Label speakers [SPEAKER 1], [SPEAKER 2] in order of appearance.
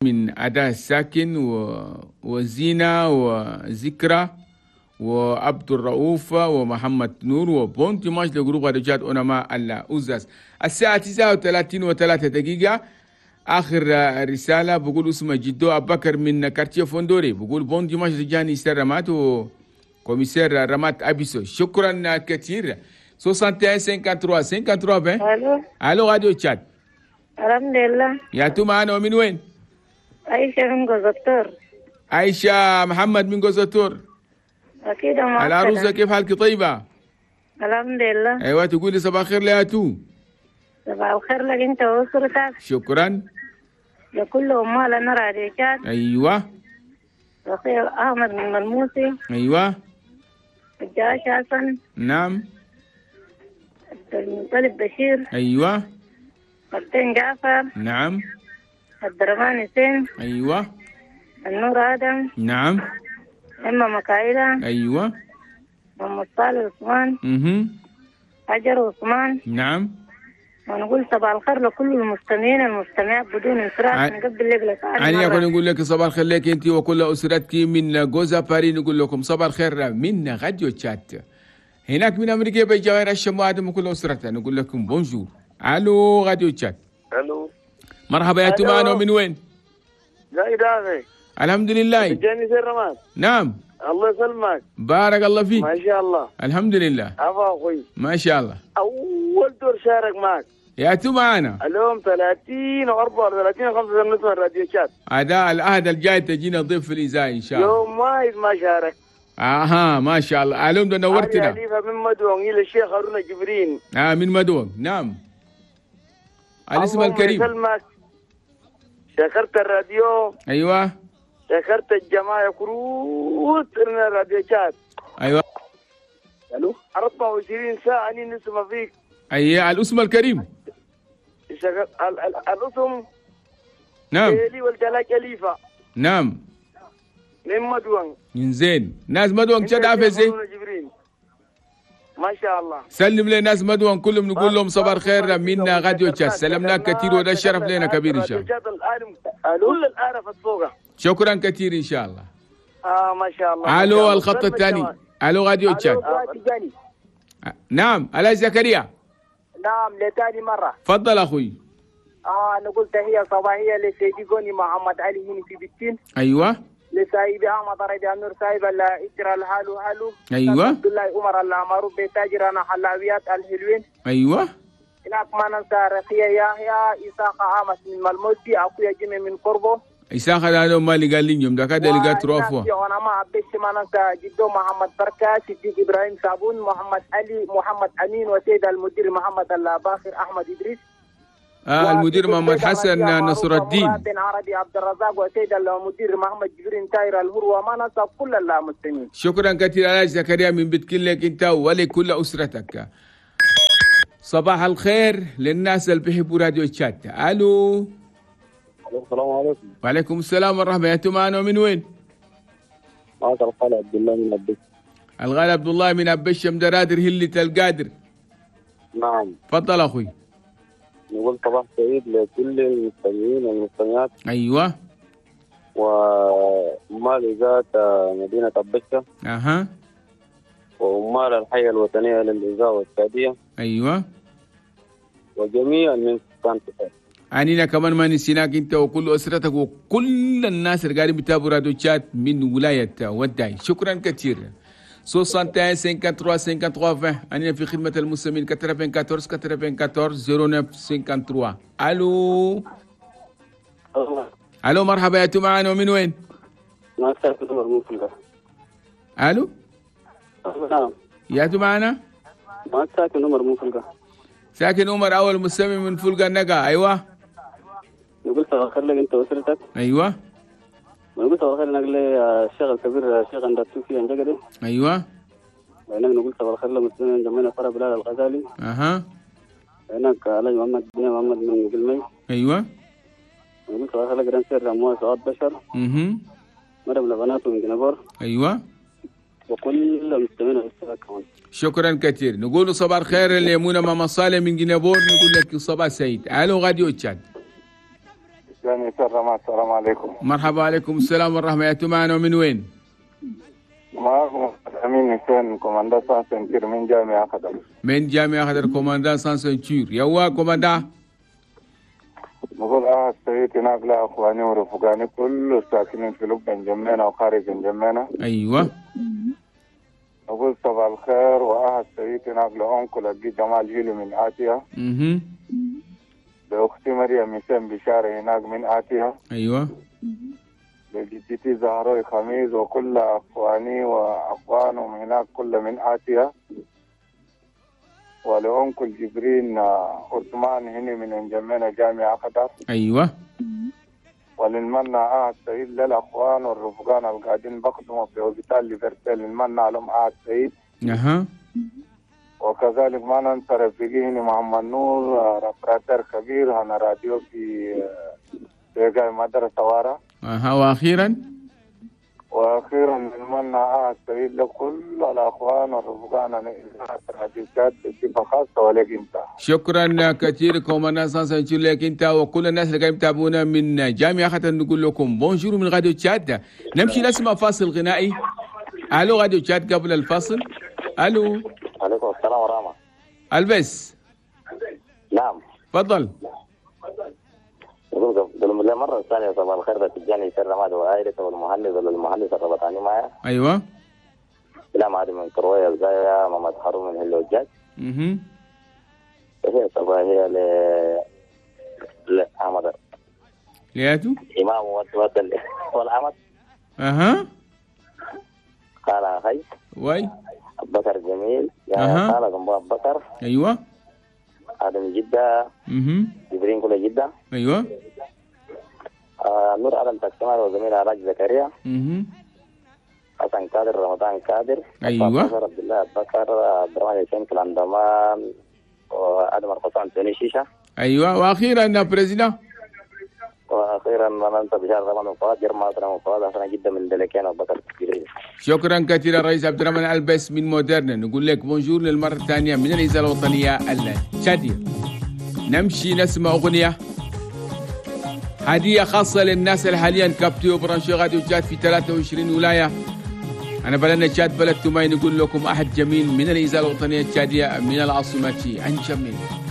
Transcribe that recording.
[SPEAKER 1] من أداء الساكن وزينة وذكرى وعبد الرؤوف ومحمد نور و bon dimanche ل groupe راديو تشاد أونما الأوزاس. الساعة 39:03. آخر رسالة بقول اسمه جدو أبو بكر من quartier فوندوري، بقول bon dimanche رجاني سر رمات و commissaire رمات أبيسو. شكرا كثير. 61 53 53 20.
[SPEAKER 2] الو.
[SPEAKER 1] الو راديو تشاد.
[SPEAKER 2] الحمد لله.
[SPEAKER 1] يا تو معنا ومن وين؟
[SPEAKER 2] عايشة من جوزتور.
[SPEAKER 1] عايشة محمد من جوزتور.
[SPEAKER 2] أكيد معك.
[SPEAKER 1] العروسة كيف حالك؟ طيبة؟
[SPEAKER 2] الحمد لله.
[SPEAKER 1] أيوة تقولي صباح الخير يا تو.
[SPEAKER 2] صباح الخير لك أنت وأسرتك.
[SPEAKER 1] شكرا.
[SPEAKER 2] لكل أمال راديو تشاد.
[SPEAKER 1] أيوة.
[SPEAKER 2] رقيق أحمد من الموسي.
[SPEAKER 1] أيوة.
[SPEAKER 2] الجاش حسن.
[SPEAKER 1] نعم.
[SPEAKER 2] عبد المطلب بشير.
[SPEAKER 1] أيوة.
[SPEAKER 2] مرتين جعفر.
[SPEAKER 1] نعم.
[SPEAKER 2] عبد الرحمن حسين.
[SPEAKER 1] أيوة.
[SPEAKER 2] النور آدم.
[SPEAKER 1] نعم.
[SPEAKER 2] إما مكايلة.
[SPEAKER 1] أيوة.
[SPEAKER 2] محمد صالح عثمان. حجر عثمان.
[SPEAKER 1] نعم.
[SPEAKER 2] ونقول صباح الخير لكل المستمعين المستمعات بدون انصراف. نقبل لك
[SPEAKER 1] أنا أقول نقول لك صباح الخير لك أنت وكل أسرتك من جوزا باري. نقول لكم صباح الخير من راديو تشاد هناك من أمريكا بجوار الشمو آدم وكل أسرتها. نقول لكم bonjour. ألو راديو تشاد.
[SPEAKER 3] ألو
[SPEAKER 1] مرحبا يا تمانو، من وين؟
[SPEAKER 3] لا إداري.
[SPEAKER 1] الحمد لله.
[SPEAKER 3] جاني سير رماد.
[SPEAKER 1] نعم.
[SPEAKER 3] الله يسلمك.
[SPEAKER 1] بارك الله فيك.
[SPEAKER 3] ما شاء الله.
[SPEAKER 1] الحمد لله.
[SPEAKER 3] عفا أخوي.
[SPEAKER 1] ما شاء الله.
[SPEAKER 3] أول دور شارك معك.
[SPEAKER 1] يا تو معنا.
[SPEAKER 3] اليوم 30 و34 و5 نسمة راديو تشاد.
[SPEAKER 1] هذا العهد الجاي تجينا ضيف في الإذاعة إن شاء الله.
[SPEAKER 3] يوم واحد ما شارك.
[SPEAKER 1] اها ما شاء الله. اليوم ده نورتنا.
[SPEAKER 3] خليفة من مدوم إلى الشيخ هارون جبرين.
[SPEAKER 1] من مدوم. نعم. الاسم الكريم.
[SPEAKER 3] الله يسلمك. شكرت الراديو.
[SPEAKER 1] ايوه.
[SPEAKER 3] شكرت الجماعة كروت من الراديو تشاد.
[SPEAKER 1] ايوه.
[SPEAKER 3] الو 24 ساعة اني نسمع فيك.
[SPEAKER 1] اي الاسم الكريم.
[SPEAKER 3] الاسم.
[SPEAKER 1] نعم.
[SPEAKER 3] إلي والدلاك أليفة.
[SPEAKER 1] نعم.
[SPEAKER 3] من مدوان.
[SPEAKER 1] من زين ناس مدوان تشاد عافية.
[SPEAKER 3] ما شاء الله.
[SPEAKER 1] سلم لناس مدوان كلهم، نقول لهم صباح الخير من راديو تشاد. سلمنا كثير وده الشرف لنا كبير ان شاء الله.
[SPEAKER 3] كل العرف الفوق.
[SPEAKER 1] شكرا كثير ان شاء الله.
[SPEAKER 3] ما شاء الله.
[SPEAKER 1] الو الخط الثاني. الو راديو تشاد. نعم الا زكريا.
[SPEAKER 4] نعم لثاني مرة.
[SPEAKER 1] تفضل اخوي.
[SPEAKER 4] نقول تحية صباحية لسيدي قوني محمد علي هنا في بكين.
[SPEAKER 1] ايوه.
[SPEAKER 4] لسايب احمد رضي النور سايب الله اجرى الحالو حالو.
[SPEAKER 1] ايوه.
[SPEAKER 4] عبد الله عمر الله معروف بتاجر انا حلاويات الحلوين.
[SPEAKER 1] ايوه.
[SPEAKER 4] هناك ما ننسى رقية يحيى إساق عامس من ملموتي اخويا جيمي من قربه.
[SPEAKER 1] إساق هذا ما اللي قال لي يوم ده كده اللي قال تروفوا.
[SPEAKER 4] وانا ما عبيش ما ننسى جدو محمد بركة صديق ابراهيم صابون محمد علي محمد امين وسيد المدير محمد الباخر احمد ادريس.
[SPEAKER 1] المدير محمد حسن نصر الدين
[SPEAKER 4] بن عربي عبد الرزاق وسيد المدير محمد جبرين تاير الهر وما ننسى كل المسلمين.
[SPEAKER 1] شكرا كثير على زكريا من بتكلك انت ولكل اسرتك. صباح الخير للناس اللي بيحبوا راديو تشاد. الو.
[SPEAKER 5] السلام عليكم.
[SPEAKER 1] وعليكم السلام ورحمة الله. معنا من وين؟
[SPEAKER 5] معك الغالي عبد الله من أبش.
[SPEAKER 1] الغالي عبد الله من أبش مدرادر هلة القادر.
[SPEAKER 5] نعم.
[SPEAKER 1] تفضل أخوي.
[SPEAKER 5] نقول صباح سعيد لكل المستمعين والمستمعات.
[SPEAKER 1] أيوة.
[SPEAKER 5] وعمال إذاعة مدينة أبشة.
[SPEAKER 1] أها.
[SPEAKER 5] وعمال الحي الوطنية للإذاعة والسعودية.
[SPEAKER 1] أيوة.
[SPEAKER 5] وجميع من سكان تفاح.
[SPEAKER 1] عنينا كمان ما نسيناك انت وكل اسرتك وكل الناس اللي قاعدين بيتابعوا راديو تشاد من ولاية وداي. شكرا كثير. 61 53 53 20. عنينا في خدمة المستمعين 94 94 09 53. الو. الو مرحبا يا معنا ومن وين؟ الو.
[SPEAKER 5] نعم.
[SPEAKER 1] يا معنا؟
[SPEAKER 5] ما ساكن عمر من فلقة.
[SPEAKER 1] ساكن عمر اول مستمع من فلقة النقا. ايوه.
[SPEAKER 5] نقول صباح الخير لك انت واسرتك.
[SPEAKER 1] ايوه.
[SPEAKER 5] ونقول صباح الخير لك الشيخ الكبير الشيخ انداتوفي انجقري.
[SPEAKER 1] ايوه.
[SPEAKER 5] وهناك نقول صباح الخير لمسلمين جمعنا فرع بلال الغزالي.
[SPEAKER 1] اها.
[SPEAKER 5] هناك علي محمد بن محمد من قلمي.
[SPEAKER 1] ايوه.
[SPEAKER 5] ونقول صباح الخير لك رنسير رموه سعاد بشر.
[SPEAKER 1] اها.
[SPEAKER 5] مريم لبنات من جنبور.
[SPEAKER 1] ايوه.
[SPEAKER 5] وكل المستمعين والمستمعات كمان.
[SPEAKER 1] شكرا كثير. نقول صباح الخير ليمونة ماما صالح من جنبور. نقول لك صباح سعيد. الو راديو تشاد.
[SPEAKER 6] يعني سر السلام عليكم.
[SPEAKER 1] مرحبا، عليكم السلام والرحمة. يا معنا ومن وين؟
[SPEAKER 6] معكم أمين حسين commandant sans ceinture من جامعة خضر.
[SPEAKER 1] من جامعة خضر، commandant sans ceinture. يوا commandant.
[SPEAKER 6] نقول السيد هناك لأخواني ورفقاني كل الساكنين في لبنان انجمينا وخارج انجمينا.
[SPEAKER 1] أيوة.
[SPEAKER 6] نقول صباح الخير. السيد هناك لأنكل أبي جمال هيلو من آتيا. لأختي مريم حسين بشارة هناك من آتيا.
[SPEAKER 1] أيوة.
[SPEAKER 6] لجدتي زهروي خميس وكل أخواني وأخوانهم هناك كل من آتيا. ولأنكل جبرين عثمان هنا من انجمينا جامعة قطر.
[SPEAKER 1] أيوة.
[SPEAKER 6] وللمنى السيد للأخوان والرفقان القاعدين بقدموا في هوبيتال ليفربول المنى لهم السيد.
[SPEAKER 1] أها.
[SPEAKER 6] وكذلك ما ننسى رفيقي هنا محمد نور رفراتر كبير هنا راديو في مدرسة وارا.
[SPEAKER 1] أها. وأخيرا
[SPEAKER 6] نتمنى السعيد لكل الأخوان والرفقان بصفة خاصة ولك أنت.
[SPEAKER 1] شكرا كثير commandant sans ceinture لك أنت وكل الناس اللي قاعدين يتابعونا من جامعة خاطر. نقول لكم bonjour من راديو تشاد. نمشي نسمع فاصل غنائي. الو راديو تشاد قبل الفاصل. الو.
[SPEAKER 5] عليكم السلام ورحمة.
[SPEAKER 1] البس.
[SPEAKER 5] نعم.
[SPEAKER 1] تفضل.
[SPEAKER 5] نقول مرة ثانية صباح الخير تجاني سر رماد وعائلته والمهندس والمهندس الربطاني معايا.
[SPEAKER 1] أيوة.
[SPEAKER 5] سلام عادي من كروية الزايا محمد هارون من هلوجات. هي صباحية لأحمد.
[SPEAKER 1] لياتو؟
[SPEAKER 5] إمام ود والأحمد.
[SPEAKER 1] أها.
[SPEAKER 5] قال أخي.
[SPEAKER 1] واي.
[SPEAKER 5] أبو بكر جميل. يا قال أبو بكر.
[SPEAKER 1] أيوة.
[SPEAKER 5] آدم جدة. جبرين كل جدة.
[SPEAKER 1] أيوة.
[SPEAKER 5] نور آدم تكسمار وزميل علاج زكريا. حسن قادر رمضان قادر.
[SPEAKER 1] أيوة.
[SPEAKER 5] عبد الله بكر عبد الرحمن حسين كلاندمان وآدم القصان توني شيشة.
[SPEAKER 1] أيوة. وأخيرا président.
[SPEAKER 5] وأخيرا ما ننسى بشار رمضان فؤاد جرما فؤاد حسن جدا من دلكين وبكر جبريل.
[SPEAKER 1] شكرا كثيرا رئيس عبد الرحمن البس من مودرن. نقول لك bonjour للمرة الثانية من الإذاعة الوطنية التشادية. نمشي نسمع أغنية هدية خاصة للناس اللي حاليا captés و branchés راديو تشاد في 23 ولاية. أنا بلدنا تشاد بلد تماي. نقول لكم أحد جميل من الإذاعة الوطنية التشادية من العاصمة أنجمينا.